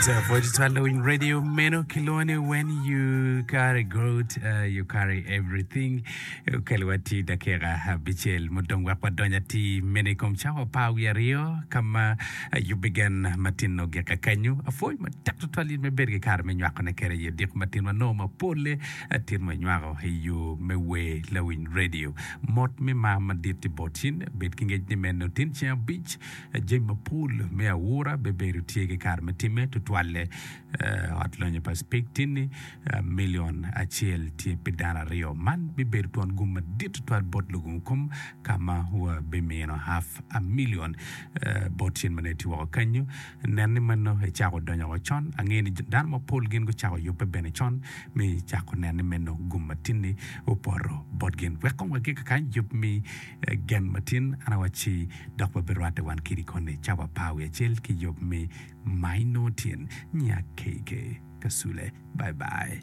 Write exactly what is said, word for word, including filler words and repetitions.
Following radio meno kilwongo ni when you carry God uh, you carry everything okelo ati dakika abicel mudong wek wadony ati meno i kom cawa apar wiye aryo ka ma yubbi gen matin ogik kanyo apwoyo matek tutwal in me bedo ki kare me nywakone kede i odiko matin wanongo mapole atin wanywako i yo me wer lawiny radio mot me mar madit i bot in bed ki ngec ni meno tin ceng abic jami mapol me awura bibedo tye ki kare me time tutwalle ot lonyo pa Speke tin-ni milion acel tye pi dano aryo man bibedo twon gum madit tutwal bot lugungu kom ka ma wabimino half a million bot cen ma nongo itye woko kenyo nen ni meno icako donyo woko con angeyo ni dano mapol gin gucako yubbe bene con me cako neno ni meno gum matin-ni opoto bot gin wek kong wagik kany yub me gen matin an awacci dok wabirwatte wan kidi koni cawa apar wiye acel ki yub me Minotien nya K K Kasule bye bye.